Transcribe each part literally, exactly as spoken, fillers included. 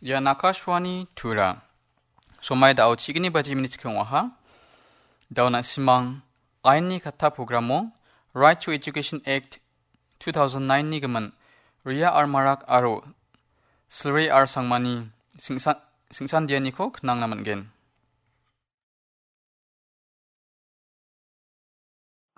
Ian Akashvani Tura. Somai da·o chigni baji minit kong aha. Da·o na·simang aini katta programo Right to Education Act two thousand nine ni gimin Ria R Marak aro Silre R Sangmani singsa-, singsandianiko knangna man·gen.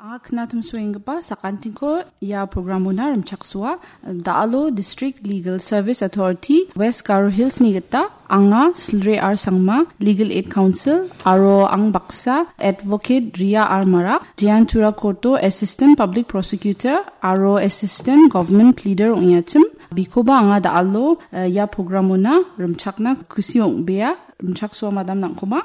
Anga knatimsoenggipa sakantikko ia programona rimchaksoa. Da·alo District Legal Service Authority, West Garo Hills-ni gita anga Silre R Sangma, Legal Aid Counsel, aro ang baksa Advocate Ria R Marak, Jayantura Korto, Assistant Public Prosecutor, aro Assistant Government Pleader ong·achim. Bikoba anga da·alo, eh, ia programona rimchakna kusi ong·bea, rimchaksoa madam nangkoba.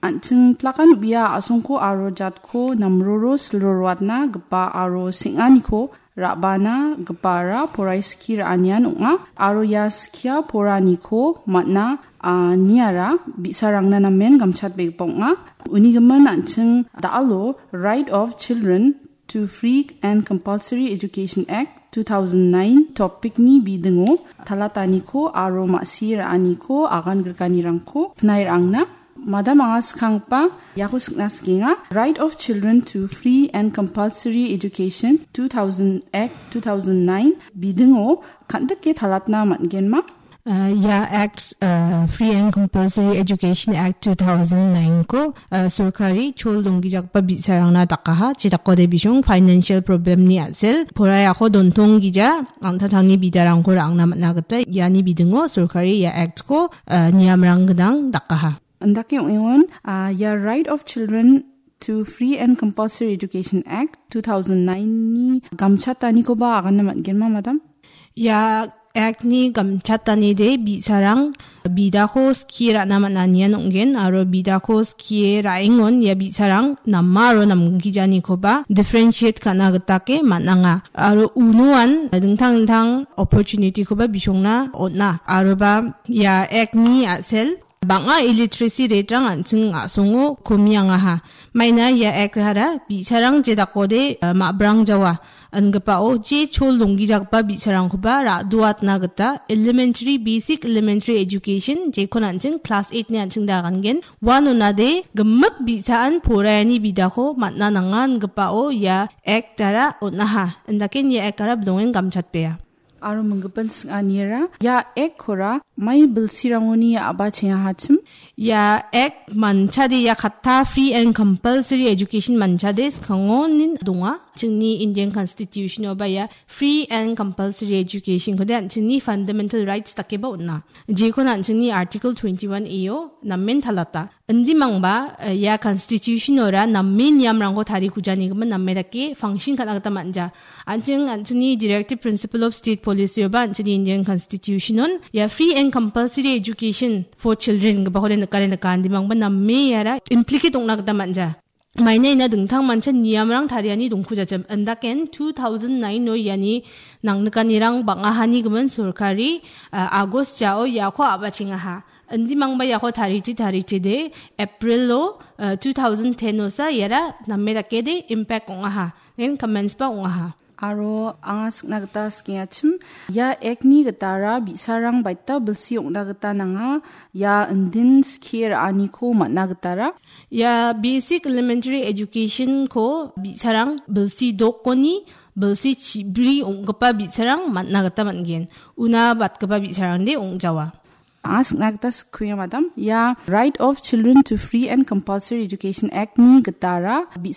An·ching plakan uia a·songko aro jatko namroro silroroatna gipa aro seng·aniko ra·bana gipara poraiskie ra·anian ong·a, aro ia skia poraniko man·a, a, niara bi·sarangna namen gamchatbegipa ong·a. Uni gimin an·ching da·alo Right of Children to Free and Compulsory Education Act two thousand nine topikni bidingo talataniko aro ma·si ra·aniko agan grikanirangko knai ra·angna. Madam, anga skanggipa iako sikna sikenga. Right of Children to Free and Compulsory Education two thousand Act two thousand nine bidingo kan·dike talatna man·genma? Uh, ia Act, uh, Free and Compulsory Education Act two thousand nine-ko, uh, sorkari chol donggijagipa bi·sarangna dakaha, jedakode bisong financial problem-ni a·sel, poraiako dontonggija, angtatangni bidarangko ra·angna man·a gita iani bidingo sorkari ia Act-ko, uh, niamrang gnang dakaha. Indake ong·engon, uh, ia Right of Children to Free and Compulsory Education Act two thousand nine-ni gamchatanikoba aganna man·genma, madam? Ia Act-ni gamchatanide bi·sarang bidako skie ra·na man·anian ong·gen aro bidako skie ra·engon ia bi·sarang nama aro namgijanikoba differentiate ka·na gitake man·anga. Aro unoan dingtang dingtang opportunity-koba bisongna on·a. Aroba ia Act-ni a·sel bang·a illiteracy rate-rang an·ching a·songo komiangaha. Maina ia Act-ara bi·sarang jedakode, eh, ma·brang jawa ingipao je chol donggijagipa bi·sarangkoba ra·doatna gita elementary, basic elementary education, jekon an·ching class eight-ni an·ching dagangen, uanonade gimik bi·saan poraiani bidako man·a nanga ingipao ia Act-ara on·aha. Indaken ia Act-ara bilongen gamchatbea. Aro minggipa sing·anira, ia Act-kora mai bilsirangoni a·bachengahachim? Ia Act manchade ia katta free and compulsory education manchade skangonin donga. Chingni Indian Constitution-oba ia free and compulsory education-kode an·chingni fundamental rights dakeba on·a. Jekon an·chingni Article twenty-one A-o namen talata. Indimangba, eh, ia Constitution-ora namen niamrangko tarikujanigimin name dake function ka·na gita man·ja. An·ching, an·chingni Directive Principle of State Policy-oba an·chingni Indian Constitution-on ia free and compulsory education for children gipakode nikade nika. Indimangba name iara implicate ong·na gita man·ja. Maina ina dingtang mancha niamrang tariani dongkujachim. Indaken two thousand nine-o iani nangnikanirang bang·ahani gimin sorkari, ah, August jao iako a·bachengaha. Indimangba iako tariti taritide April-o, ah, two thousand ten-osa iara name dakede impact ong·aha. Nen comments-ba ong·aha. Aro anga sikna gita sikengachim, ia Act-ni gitara bi·sarang baita bilsi ong·na gita nanga, ia indin skie ra·aniko man·na gitara. Ia basic elementary education-ko bi·sarang bilsi dokoni, bilsi chibri ong·gipa bi·sarang man·na gita man·gen. Una batgipa bi·sarangde ong·jawa. Anga sikna gita sikuenga, madam. Ia Right of Children to Free and Compulsory Education Act-ni gitara bi·sa